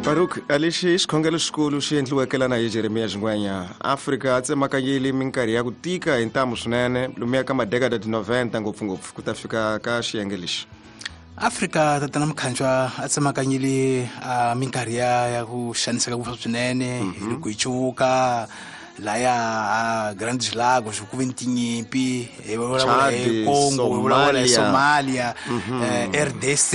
Baruk a lexi i xikhongelo xikulu xi endliweke lana hi Jeremiya Xingwenya. Afrika a tsemakanyile minkarhi ya ku tika hi ntamu swinene lomuya ka madekada ti 90 ngopfungopfu ku ta fika ka xiyenge lexi. Afrika tatana Mkhanjwa a tsemakanyile a minkarhi ya ku xaniseka ngopfu swinene hi loko hi cuvuka laya a Grandes Lagos ku ve ni tinyimpi, hi vulavula hi Chad, Congo, hi vulavula hi Somalia. Somalia, RDC,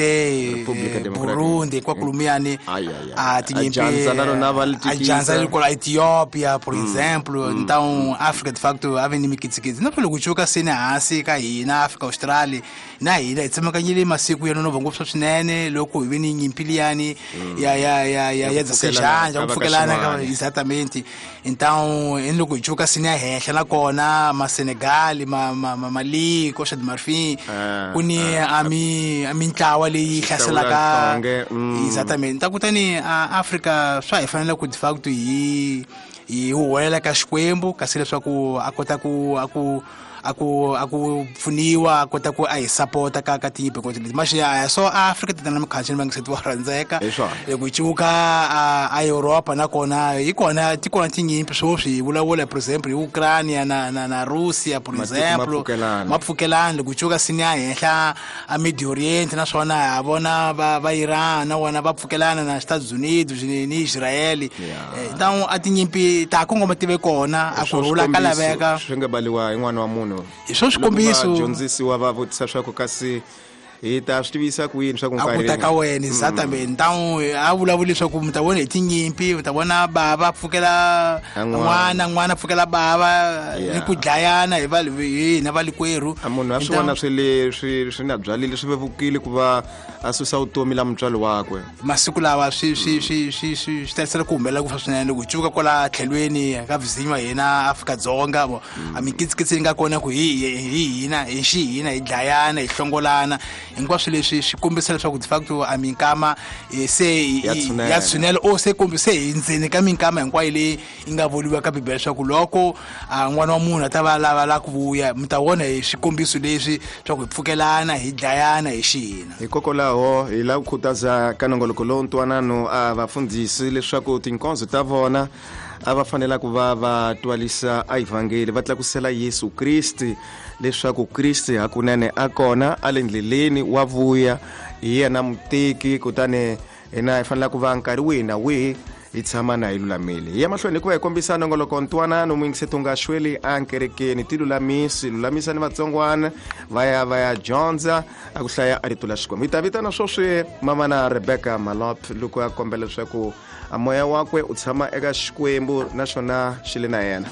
Republika Democratic. Burundi, hinkwako lumuyani Ai, ai, ai. a tinyimpi, A dyandza na rona va li a dyandza tikisa. li kwala Ethiopia, por exemplo. Então Africa de facto a ve ni mikitsikitsi, na loko cuvuka seni hansi ka hina Africa Australia na hina hi tsemakanyile masiku ya nonoha ngopfu swinene loko hi ve ni nyimpi liyani ya Ya ya ku dzasejanja pfukelana ku ka va ka pfukelana ka Xin'wana. exatamente. Então hi loko hi cuvuka seni ya henhla nakona ma Senegal, ma Mali, Costa de Marfim, Ah, ku ni ah, a mintlawa leyi hlaselaka Hlawula nhlonge. Exatamente. Ta kutani a Afrika swa hi fanele ku de facto hi huwelela ka Xikwembu kasi leswaku a kota ku a ku a ku a ku pfuniwa, a kota ku a hi sapota ka tinyimpi hinkwato leti. Mas ya so Afrika tatana Mkhanjwa ni vangiseti wa rhandzeka. Hi swona. Loko hi cuvuka a Europa nakona hi kona ti kona tinyimpi sweswi hi vulavula por exemple hi Ukraine na Russia por Matiko ma exemple. pfukelana. Ma pfukelana. Loko hi cuvuka sini ya henhla a Mid Orient naswona ha vona va Iran na vona va pfukelana na Estados Unidos ni Israel. Yeah. Então a tinyimpi ta kongoma ti ve kona, a Hi swo ku rhula ka swikombiso laveka. Swi nga baliwa hi n'wana wa munhu. Hi swo swikombiso. Loko vadyondzisiwa va vutisa swa ku kasi hi ta swi tivisa ku yini swa ku A ku nkarhi ta ka wena exatamente. Então a vulavula leswaku mi ta vona hi tinyimpi, mi ta vona bava pfukela A n'wana. n'wana, n'wana pfukela bava, Yeah. ni ku dlayana hi va hi hina valikwerhu. A munhu a swi Então vona swi le swi nga byalile swi vevukile ku va a susa vutomi la mutswari wakwe. Masiku lawa swi tarisela ku humelela ku fa swinene loko hi cuvuka kwala tlhelweni ka vizinyo wa hina Afrika-Dzonga, vo a mikitsikitsi yi nga kona ku hi hina hi xi hina hi dlayana hi hlongolana hinkwaswo leswi swi kombisa leswaku de facto a minkama, se Ya tshunela. ya tshunela o se kombi se hi ndzeni ka minkama hinkwayo leyi yi nga vuriwa ka Bibele leswaku loko a n'wana wa munhu a ta va lava la ku vuya mi ta vona hi swikombiso leswi swa ku hi pfukelana hi dlayana hi xihina. Hikokwalaho hi lava ku khutaza ka nongoloko lowu ntwanano a vafundhisi leswaku tinkonzo ta vona a va fanela ku va va twalisa a evhangeli, va tlakusela Yesu Kriste leswaku Kriste hakunene a kona a le ndleleni wa vuya, hi yena muteki, kutani hina hi fanela ku va nkarhi wihi na wihi hi tshama na hi lulamile. Hi ya mahlweni hikuva hi kombisa nongoloko ntwanano muyingiseti u nga xweli enkerekeni, ti lulamisi, lulamisa ni vatsongwana va ya va ya dyondza a ku hlaya a rito la Xikwembu. Hi ta vitana sweswi mama na Rebecca Malop loko a kombela leswaku a moya wakwe u tshama eka Xikwembu naswona xi le na yena.